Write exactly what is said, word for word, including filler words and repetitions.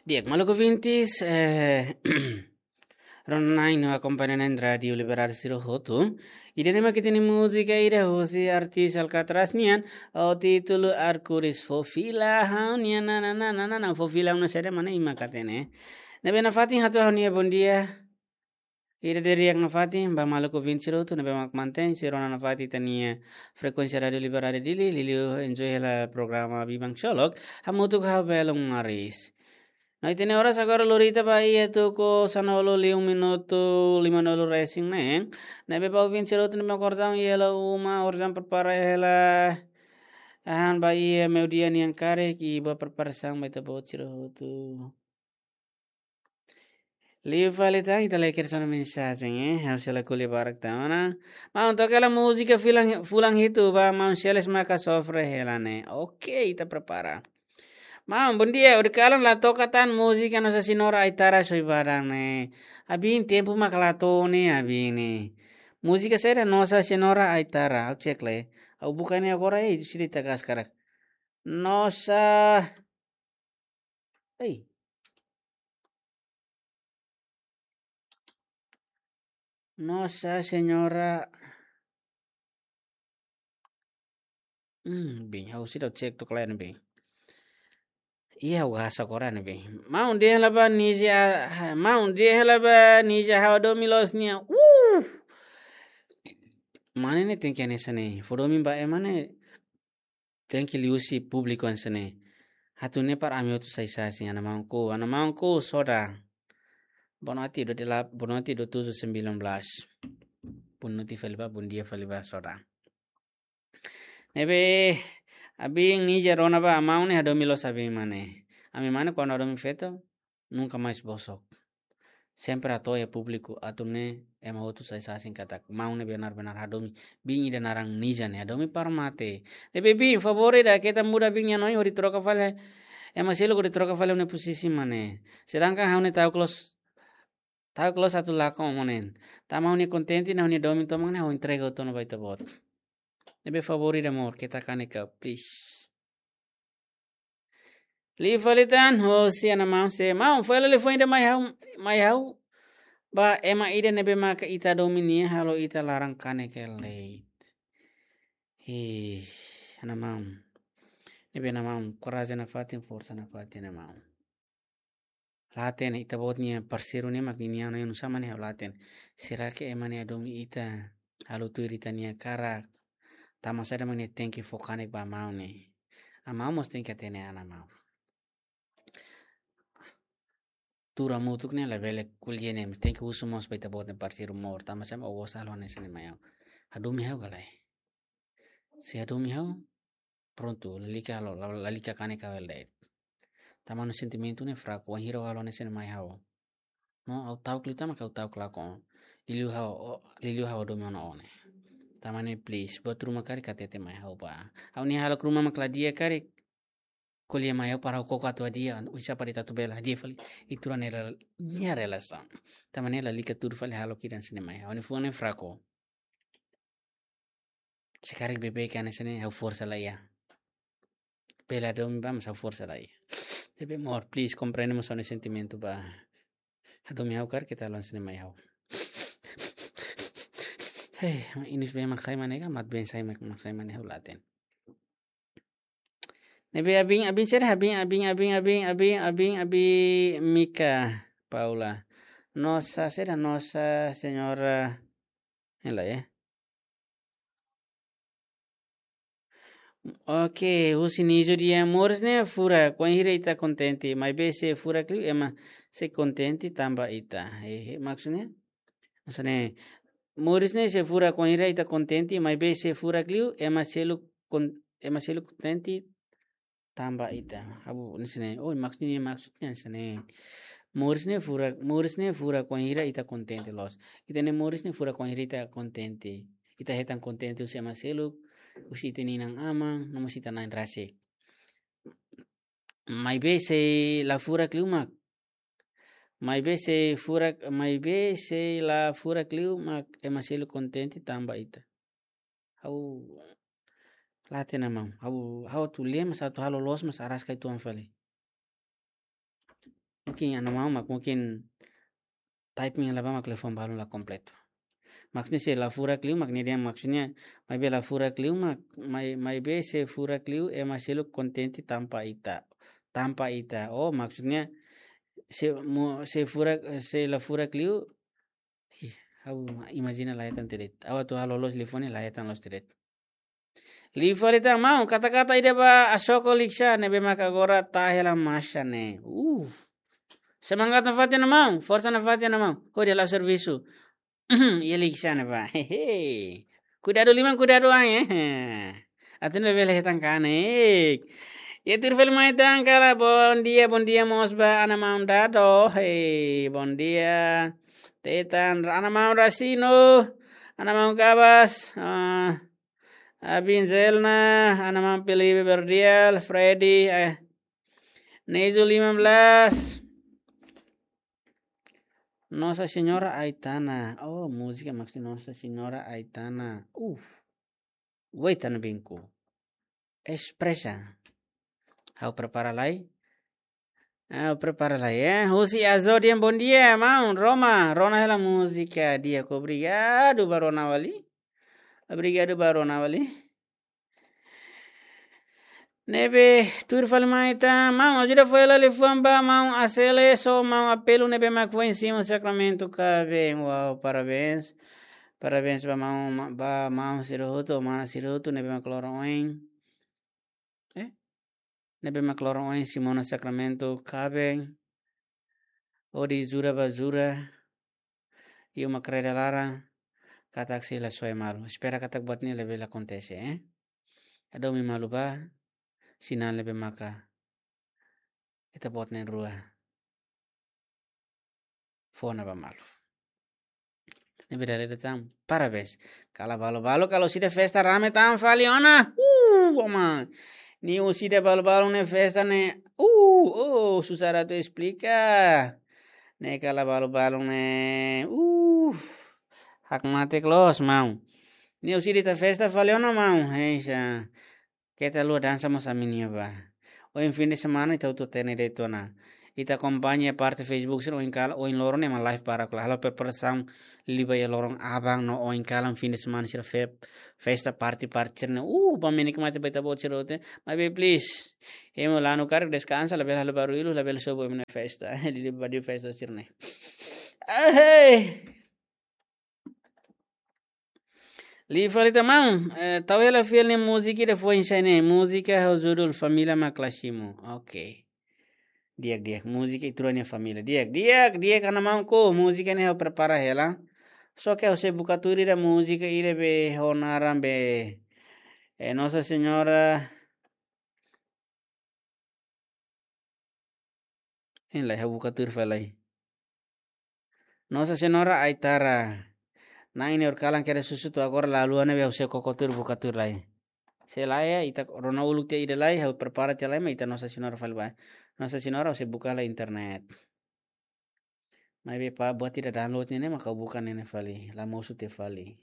Di'ak, maluk ouvintes, eh, rona-na'in no akompaña na'in Rádiu Liberdade sira hotu. Ida-ne'e mak ita-nia múzika ida husi artis Alcatraz nian, ho títulu Arkuris. Fó fila ha'u-nia nananana, fó fila ha'u-nia sede mana ima katene. Ne'ebé nafatin hato'o ha'u-nia bondia. Ida di'ak nafatin ba maluk ouvinte sira hotu ne'ebé mak mantein sira ona nafatin ita-nia frekuénsia Rádiu Liberdade Dili, liuliu enjoy hela programa Biban Ksolok, hamutuk ho Belun Maris. No ita-nia oras agora lori ita ba iha tuku sanulu liu minutu limanulu resin neen. Ne'ebé ba ouvinte sira hotu ne'ebé mak orsida iha uma, orsida prepara hela hahán ba iha meiudia nian karik, i boa preparasaun ba ita-boot sira hotu. Liu fali tan, ita lee kedas ona mensajen, eh. Ha'u sei la ko'alia barak tan ona. Maun, toka hela múzika fulan, fulan hitu ba maun Celes maka sofre hela ne'e. Oke, ita prepara. Maun, bondia, horiseik la toka tan múzika Nossa Senhora Aitara Soibada ne'e. Abin tempu mak la to'o ne'e, abin ne'e. Múzika saida Nossa Senhora Aitara, ha'u cek lai. Ha'u buka ne'e agora, eh, sira ita gas karik. Nossa Ei. Nossa Senhora. Hmm, bin, ha'u seidauk cek tok lain bin. Iya, ha'u hasa koran bin. Maun dehan hela ba Nija, maun dehan hela ba Nija ha'u hadomi loos nia. Uh! Mane ne'e tenke hanesan ne'e. Fó domin ba ema ne'e. Tenke liuhusi públiku hanesan ne'e. Atu ne'e para ami hotu sai sasin, ana maunku, ana maunku Soda. Boa noite, dua dela-, boa noite, dua tujuh sembilan belas. Boa noite fali ba, bondia fali ba, Soda. Ne'ebé, abin Nija rona ba, maun ne'e hadomi loos abin mane. Ami mane kuandu hadomi feto, nunka mais bosok. Sempre hato'o iha públiku atu nune'e ema hotu sai sasin katak maun ne'e benar-benar hadomi bin ida naran Nija ne'e, hadomi para mate. Ne'ebé bin, favór ida keta muda bin nia hanoin hodi troka fali. Ema seluk hodi troka fali ha'u-nia pozisi mane. Sedangkan ha'u ne'e ta'uk loos, ta'uk loos atu lakon mane. Tanba ha'u-nia kontente no ha'u-nia domin tomak ne'e ha'u entrega hotu ona ba ita-boot. Ne'ebé favór ida amor, keta kanek, please. Liu fali tan, hosi ana maun se, maun, fó hela liafuan ida mai ha'u, mai ha'u. Ba ema ida ne'ebé maka ita hadomi nia halo ita laran kanek ka lae. Ih, ana maun. Ne'ebé ana maun, korajen nafatin, forsa nafatin ana maun. La hatene, ita-boot nia parseiru ne'e mak nia hanoin oinsá mane ha'u la hatene. Será que ema ne'e hadomi ita halo tuir ita-nia hakarak? Tanba saida mak nia tenke fó kanek ba maun ne'e? Maun mós tenke hatene, ana maun. Tuur hamutuk ne'e labele ko'alia ne'e, mas tenke husu mós ba ita-boot nia parseiru moris. Tanba saida mak ó gosta halo hanesan ne'e mai ha'u? Hadomi ha'u ka lae? Se hadomi ha'u, prontu, lalika halo, la-, lalika kanek ka lae. Tanba ha'u-nia sentimentu ne'e fraku, wainhira ó halo hanesan ne'e mai ha'u. No, ha'u ta'uk liután mak ha'u ta'uk lakon. Liuliu ha'u, ó, liuliu ha'u hadomi ona ó ne'e. Tanba ne'e please, buat ruma karik hatete mai ha'u ba. Ha'u-nia hahalok ruma mak la di'ak karik, ko'alia mai ha'u para ha'u koko atu hadi'a, oinsá para ita atu bele hadi'a fali ita rua nia rel-, nia relasaun. Tanba ne'e lalika tuur fali hahalok ida hanesan ne'e mai ha'u. Ha'u-nia fuan ne'e fraku. Se karik beibeik hanesan ne'e ha'u forsa laiha. Bele hadomi ba, mas ha'u forsa laiha. Ne'ebé amor, please, komprende mós ha'u-nia sentimentu ba. Hadomi ha'u karik keta halo hanesan ne'e mai ha'u. Hei, inis been mak sai mane ka, mat been sai mak, mak sai mane ha'u la hatene. Ne'ebé abin, abin saida, abin, abin, abin, Mika Paula. Nossa, saida, Nossa Senhora. Hela, eh. Oke, husi Nijo dehan, moris ne'e furak, wainhira ita kontente, maibé se furak liu ema sei kontente tanba ita. Eh, eh, maksudnya? Hanesan ne'e, moris ne'e sei furak wainhira ita kontente, maibé se furak liu ema seluk kon-, ema seluk kontente tanba ita. Ha'u hanesan ne'e, oh, maksudnya, maksudnya hanesan ne'e. Moris ne'e furak, moris ne'e furak wainhira ita kontente loos. Ita-nia moris ne'e furak wainhira ita kontente. Ita hetan kontente husi ema seluk, husi ita-nia inan-aman, no mós ita-nia na'in rasik. Maibé se la furak liu mak. Maibé se furak, maibé se la furak liu mak ema seluk kontente tanba ita. Ha'u la hatene maun. Ha'u, ha'u atu lee mas atu halo loos mas araska uitoan fali. mungkin ana maun mak mungkin typing la ba mak liafuan balun la kompletu. Maksudnya se la furak liu mak nia dehan maksudnya, maibé la furak liu mak, mai, maibé se furak liu ema seluk kontente tanba ita. Tanba ita. Oh, maksudnya se mo, se furak, se la furak liu, ih, ha'u ma-, imajina la hetan de'it. Ha'u atu halo loos liafuan ne'e la hetan loos de'it. Liu fali tan maun, kata-kata ida ba Asoko Liksa ne'ebé mak agora tahe la masa ne'e. Uh. Semangat nafatin maun, forsa nafatin maun. Hodi halo servisu. Iha Liksa ne'ebá. Hehe. Kuidadu liman, kuidadu an, eh. Atu ne'e bele hetan kanek. Iha tuir fali mai tan kala, bondia, bondia mós ba ana maun Dado. Hei, bondia. Tetan, ana maun Rasino. Ana maun Kabas. Ah, Abin Zelna, ana maun Felipe Berdial, Freddy, eh, Nezu lima belas. Nossa Senhora Aitana. Oh, múzika maksud Nossa Senhora Aitana. Uf. Wait, tan binku. Expressa. Ha'u prepara lai. Ah, prepara lai, eh. Husi Azodian, bondia, maun. Roma, rona hela múzika di'ak. Obrigadu ba rona fali. Obrigadu ba rona fali. Ne'ebé tuir fali mai tan, maun, ajuda fó hela liafuan ba maun Asele, so maun Apelu ne'ebé mak foin simu sakramentu kaben. Wow, parabéns. Parabéns ba maun, ba maun sira hotu, mana sira hotu ne'ebé mak loron oin. Eh? Ne'ebé mak loron oin simu ona sakramentu kaben. Hodi jura ba jura. Iha uma kreda laran. Katak sei la soe malu. Espera katak buat ne'e labele akontese, eh? Hadomi malu ba. Sinál ne'ebé maka ita-boot na'in-rua fó ona ba malu. Ne'ebé dala ida tan, parabéns. Kala balu-balu, kala husida festa rame tan fali ona. Uh, oma. Nia husida balu-balu ne'e festa ne'e. Uh, oh, susar atu esplika. Ne'e kala balu-balu ne'e. Uh, hakmatek loos, maun. Nia husida ita festa fali ona, maun. Heisa. Keta haluha dansa mós ami-nia ba. Ohin fin de semana ita hotu hatene de'it ona. Ita akompaña parte Facebook sira ohin kalan, ohin loron ne'e ema live barak halo preparasaun liu ba iha loron aban no ohin kalan fin de semana sira fe-, festa party party sira ne'e. Uh, ba menikmati ba ita-boot sira hotu. Maibé please. Ema lanu karik deskansa, labele halo barullu, labele sobu ema nia festa. Liu ba iha festa sira ne'e. Ahei. Liu fali tan maun, eh, tau hela fiel ne'e múzika ida foin sai ne'e, múzika ho judul Família mak la simu. Ok. Di'ak, di'ak, múzika ita-rua nia família. Di'ak, di'ak, di'ak, ana maun ko, múzika ne'e ha'u prepara hela. Só ke ha'u sei buka tuir ida múzika ida be ho naran be, eh, Nossa Senhora. Hein lai, ha'u buka tuir fali lai. Nossa Senhora Aitara. Na'in-neen horikalan kedas husu to'o agora la haluha ne'ebé ha'u sei koko tuir buka tuir lai. Sei la iha, ita rona uluk tiha ida lai, ha'u prepara tiha lai, maibé ita Nossa Senhora fali ba. Nossa Senhora ha'u sei buka lai internet. Maibé pa buat ida download ne'e ne'e maka ha'u buka ne'e ne'e fali, la mosu tiha fali.